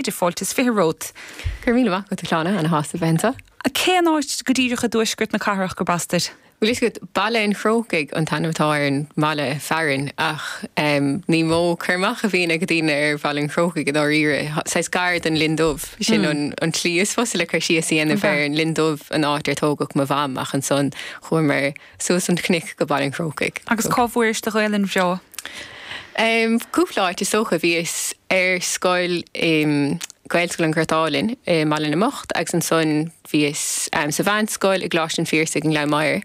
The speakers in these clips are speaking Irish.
Idir fáilte is 20 romhat. Go raibh míle maith agat, a Shláine, ana shásta bheith anseo. Cén áit go díreach i dtuaisceart na cathrach gurb as duit? Bhfuil fhios agat, Baile an Chrócaigh an t-ainm atá ar an mbaile fearainn ach ní mó cur amach a bhíonn ag daoine ar Bhaile an Chrócaigh i ndáiríre. Saghas gar don Linn Dubh, sin an tslí is fusa le cur síos a dhéanamh air, an Linn Dubh an áit ar tógadh mo mham ach ansan chuamar Suas an cnoic go Baile an Chrócaigh. Agus cá bhfuairis do Ghaelainn bhreá? Cúpla áit is dócha. Bhíos ar scoil i Gaelscoil an Ghort Álainn i mBaile na mBocht agus ansan bhíos sa mheánscoil i gColáiste an Phiarsaigh i nGleann Maghair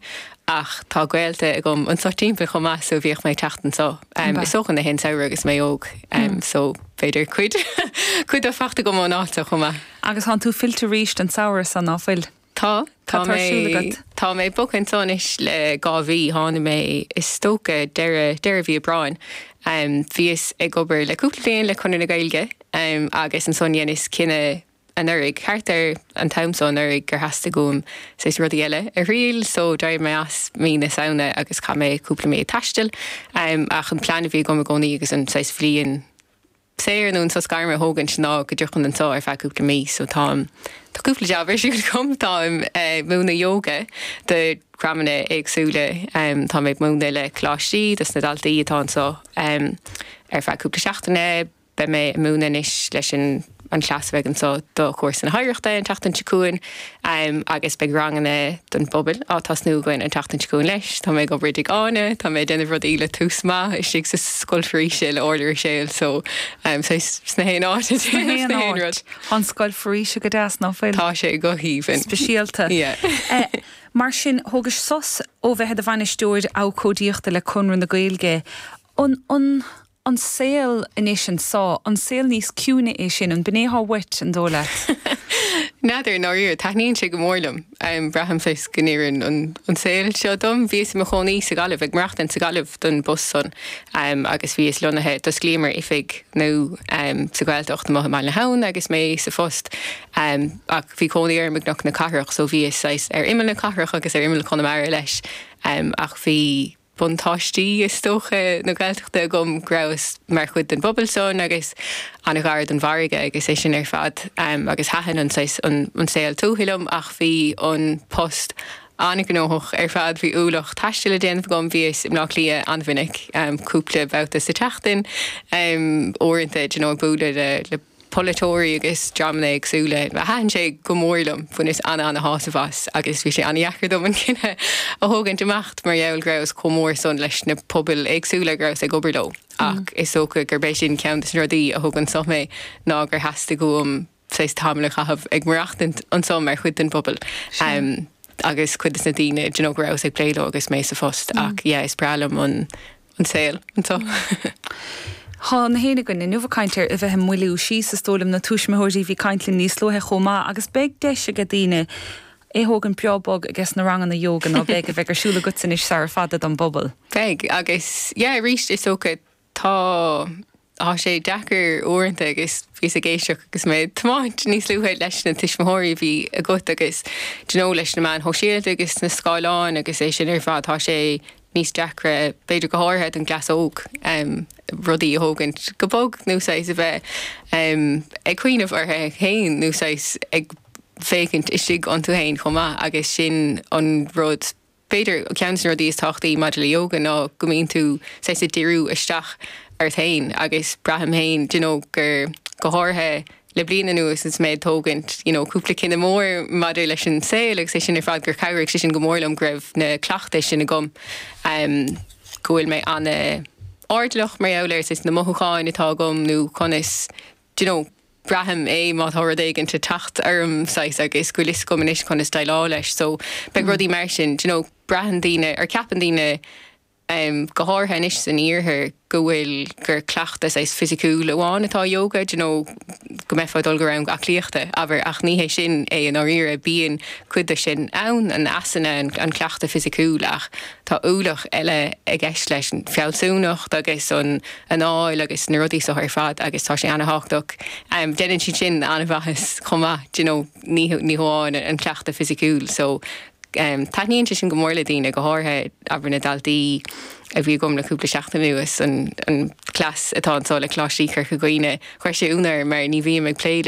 ach tá gaolta agam anso timpeall chomh maith so bhíodh mé ag teacht anso is dócha na haon samhradh agus mé óg so b'fhéidir cuid cuid dó fachta agam ón áit so chomh maith. Agus tánn tú fillte arís an samhradh so ná fuil? Tá. Tá mé, tá mé bogtha anso anois le 2 mhí. Tháinig mé is dócha deireadh, deireadh mhí Aibreáin. Bhíos ag obair le cúpla bliain le Conradh na Gaeilge agus ansan dheineas cinneadh anuraidh, thart ar an t-am so anuraidh, gur theastaigh uaim saghas rudaí eile a thriail so d'éirigh mé as mí na Samhna agus chaith mé cúpla mí ag taisteal. Ach an plean a bhí agam i gcónaí agus an saghas bhliain, saor nó an sos gairme a thógaint ná go dtiocfainn anseo ar feadh cúpla mí so táim, tá cúpla jab ar siúl agam, táim ag múineadh yoga do dhreamanna éagsúla, táim ag múineadh le coláistí dos na daltaí atá anseo ar feadh cúpla seachtaine, beidh mé ag múineadh anois leis an an cleas a bheidh anseo do chúrsa na hoidhreachta an tseachtain seo chugainn agus beidh ranganna don bpobal á tosnú againn an tseachtain seo chugainn leis. Tá mé ag obair i dTigh Áine, tá mé ag déanamh rudaí le Tús Maith istigh sa Scoil Foraoise le Orla Ruiséal so saghas sna haon áit ag déanamh na haon rud. Tá an Scoil Foraoise go deas, ná fuil? Tá sé go haoibhinn. Speisialta. Yeah. Mar sin, thógais sos ó bheith i do bhainisteoir abhcóidíochta le Conradh na Gaeilge. An, an. An saol anois anso, an saol níos ciúine é sin? An b'in é atá uait, an dóigh leat? N'fheadar, i ndáiríre. Taitníonn sé go mór liom. Braithim saghas go n-oireann an saol seo dom. Bhíos i mo chónaí sa Ghaillimh, ag maireachtaint sa Ghaillimh don bpost san agus bhíos lonnaithe, d'osclaíomar oifig nua sa Ghaeltacht amuigh i mBaile na hAbhann agus mé sa phost ach bhí cónaí orm i gCnoc na Cathrach so bhíos saghas ar imeall na cathrach agus ar imeall Chonamara leis ach bhí buntáistí, is dócha, na Gaeltachta agam, go rabhas mar chuid den bpobal san agus an-ghar don bhfarraige agus é sin ar fad agus thaitin an saghas, an saol tuaithe liom ach bhí an post an-ghnóthach ar fad, bhí ualach taistil le déanamh agam, bhíos i mBleá Cliath an-mhinic, cúpla babhta sa tseachtain, uaireanta, d'you know, ag bualadh le, le. polaiteoirí agus dreamanna éagsúla. Thaitin sé go mór liom, bhaineas ana-ana-shásamh as agus bhí sé ana-dheacair dom an cinneadh a thógaint imeacht mar gheall go rabhas chomh mór san leis na pobail éagsúla go rabhas ag obair leo. Ach is dócha gurb é sin ceann des na rudaí a thug anso mé ná gur theastaigh uaim saghas tamall a chaitheamh ag maireachtaint anso mar chuid den bpobal agus cuid des na daoine d'you know go rabhas ag plé leo agus mé sa phost. Ach yeah is breá liom an an saol anseo. Tá na héinne againn inniu ag caint ar a bheith ag moilliú síos, is dóigh liom, na tuismitheoirí a bhí ag caint linn níos luaithe chomh maith, agus beidh deis aige daoine é thógaint breá bog ages na ranganna ióga, ná beidh, a bheidh ar siúl agatsa anois sara fada don bpobal. Beidh, agus yeah, arís is dócha tá. Tá sé deacair uaireanta agus bhíos ag éisteacht agus mé ag tiomáint níos luaithe leis na tuismitheoirí a bhí agat agus do you know leis na meáin shóisialta agus na scáileáin agus é sin ar fad tá sé níos deacra b'fhéidir go háirithe don gcleas óg rudaí a thógaint go bog nó saghas a bheith ag cuimhneamh orthu féin nó saghas ag féachaint istigh iontu féin chomh maith agus sin an rud B'fhéidir, ceann de na rudaí is tábhachtaí maidir le yoga ná go mbíonn tú saghas ag díriú isteach ort féin agus braithim féin do you know gur, go háirithe le bliain anuas is mé ag tógaint you know cúpla cinneadh mór maidir leis an saol agus é sin ar fad gur chabhraigh sé sin go mór liom go raibh na cleachtais sin agam go bhfuil mé ana-airdeallach mar gheall ar saghas na mothúcháin atá agam nó conas do you know, braithim é má tá rud éigin ag teacht orm saghas agus go bhfuil fhios agam anois conas déileáil leis so beidh rudaí mar sin, do you know, braitheann daoine, or ceapann daoine em go háirithe anois san iarthar go bhfuil, gur cleachtadh saghas fisiciúil amháin atá i yoga, do you know, go mbeifeá ag dul go rang aclaíochta, abair, ach ní hé sin é i ndáiríre, bíonn cuid de sin ann, an asana, an cleachtadh fisiciúil ach tá ualach eile i gceist leis, an fealsúnacht agus an anáil agus na rudaí seo ar fad agus tá sé ana-thábhachtach. Déanann siad sin an-mhaitheas chomh maith, do you know, ní ní hamháin an cleachtadh fisiciúil. So taitníonn sé sin go mór le daoine, go háirithe abair na daltaí a bhí agam le cúpla seachtain anuas, an an. cleas atá anseo le Coláiste Chorca Dhuibhne. Chuir sé ionadh orm mar ní bhím ag plé le.